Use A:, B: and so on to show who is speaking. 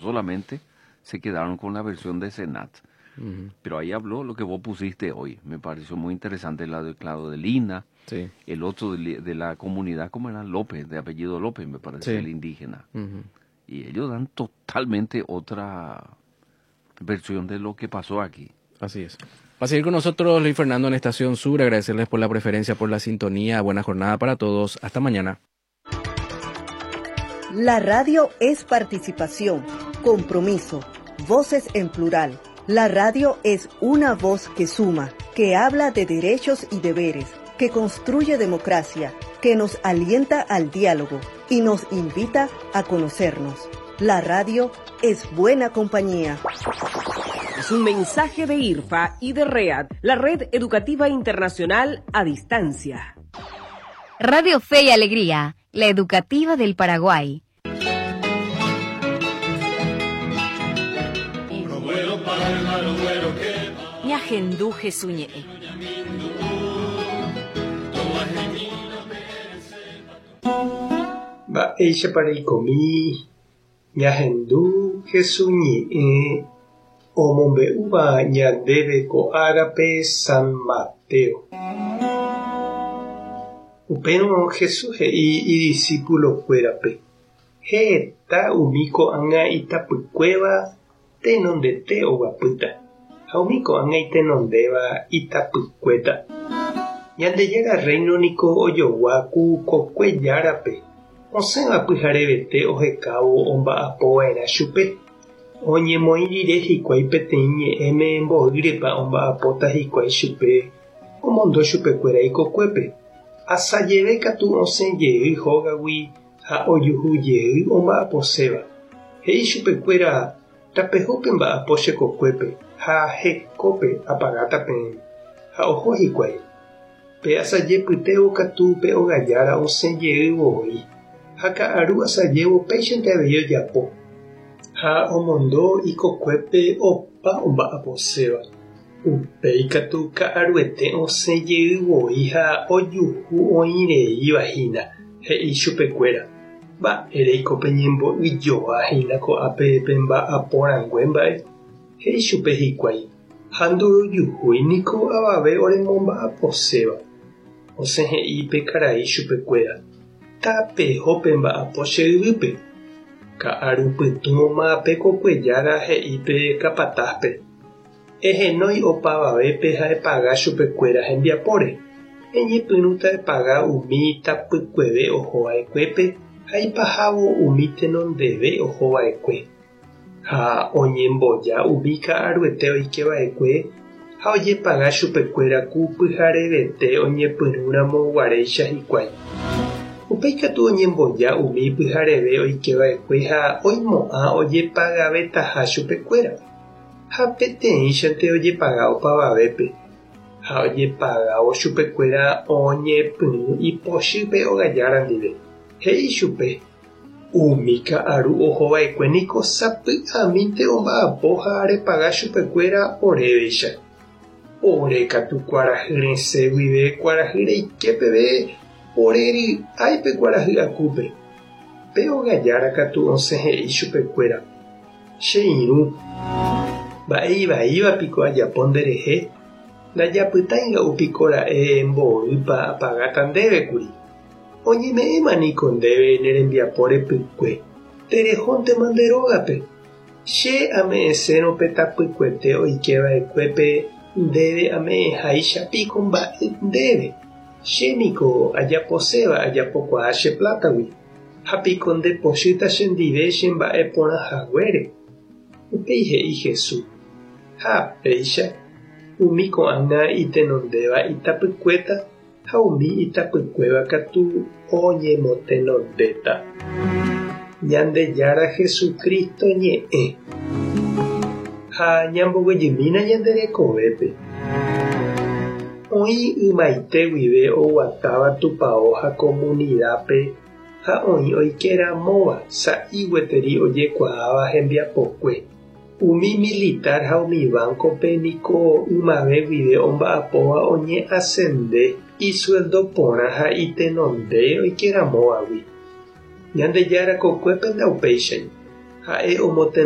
A: Solamente se quedaron con la versión de Senat. Pero ahí habló lo que vos pusiste hoy. Me pareció muy interesante la de Claudelina,
B: Sí.
A: el otro de la comunidad, como era López, de apellido López, me parece,
B: Sí.
A: el indígena.
B: Ujú.
A: Y ellos dan totalmente otra versión de lo que pasó aquí.
B: Así es. Va a seguir con nosotros Luis Fernando en Estación Sur. Agradecerles por la preferencia, por la sintonía. Buena jornada para todos. Hasta mañana.
C: La radio es participación, compromiso, voces en plural. La radio es una voz que suma, que habla de derechos y deberes, que construye democracia, que nos alienta al diálogo y nos invita a conocernos. La radio es buena compañía.
D: Es un mensaje de IRFA y de READ, la Red Educativa Internacional a Distancia.
E: Radio Fe y Alegría, la educativa del Paraguay.
F: Ñahendu Jesús ñe'ẽ.
G: Mba'éichapa reikomi ñahendu Jesús ñe'ẽ omombe'úva ñandéve ko árape San Mateo. Upérõ Jesús he'i idiscipulokuérape heta umi ko'ág̃a itapykuéva tenondete oguapýta ha umi ko'ág̃a itenondéva itapykuéta. Ñandejára Reino niko ojogua ku kokue járape osẽva pyharevete ohekávo omba'apova'erã chupe. Oñemoĩ rire hikuái peteĩ ñe'ẽme mboýrepa omba'apóta hikuái chupe omondo chupekuéra ikokuépe. Asajeve katu osẽ jey hógagui ha ojuhu jey omba'aposéva. He'i chupekuéra tapehópe mba'apo che kokuépe ha hekópe apagáta peẽme. Ha oho hikuái. Pe asajepytévo katu pe ogajára osẽ jey voi. Ha ka'aru asajévo péichante avei ojapo. Ha omondo ikokuépe opa omba'aposéva. Upéi katu ka'aruete osẽ jey voi ha ojuhu oĩreivahína, he'i chupekuéra. Mba'éreiko peñembo'yjoahína ko'ápe pemba'aporãngue mba'e. He'i chupe hikuái ha ndorojuhúi niko avave oremomba'aposéva. Osẽ he'i pe karai chupekuéra. Tapeho pemba'apo che yvýpe. Ka'arupytũma pe kokuejára he'i pe capatazpe. Ehenói opavavépe ha epaga chupekuéra hembiapóre. Eñepyrũta epaga umi tapykueve ohova'ekuépe ha ipahávo umi tenondeve ohova'ekue. Ha oñemboja umi ka'aruete oikeva'ekue ha ojepaga chupekuéra ku pyharevete oñepyrũramo guaréicha hikuái. Upéi katu oñemboja umi pyhareve oikeva'ekue ha oimo'ã ojepagavetaha chupekuéra. Ha peteĩchante ojepaga opavavépe. Ha ojepagávo chupekuéra oñepyrũ ipochýpe ogajára ndive. He'i chupe. Umi ka'aru ohova'ekue niko sapy'amínte omba'apo ha repaga chupekuéra oréveicha. Ore katu kuarahy resẽ guive kuarahy reike peve ore ry'áipe kuarahy akúpe. Pe ogajára katu osẽ he'i chupekuéra. Che irũ. Mba'e ivaíva piko ajapo nderehe ndajapytáinga'u piko ra'e mboýpa apagáta ndévekuri. Oñeme'ẽma niko ndéve ne rembiapo repykue. Terehóntema nde rógape. Che ame'ẽsérõ pe tapykuete oikeva'ekuépe ndéve ame'ẽháicha piko mba'e ndéve. Che niko ajaposéva ajapokuaa che plátagui. Ha piko ndepochýta chendive che mba'e porãhaguére. Upéi he'i Jesús. Ha péicha umi ko'ág̃a itenondéva itapykuéta ha umi itapykuéva katu oñemotenondéta. Ñandejára Jesucristo ñe'ẽ. Ha ñamboguejymína ñande rekovépe. Oĩ ymaite guive oguatáva tupão ha comunidápe ha oĩ oikeramóva sa'i gueteri ojekuaáva hembiapokue. Umi militar ha umi bancope niko ymave guive omba'apóva oñeascende isueldo porã ha itenonde oikeramóvagui. Ñandejára kokuépe ndaupéichai. Ha'e omotenonde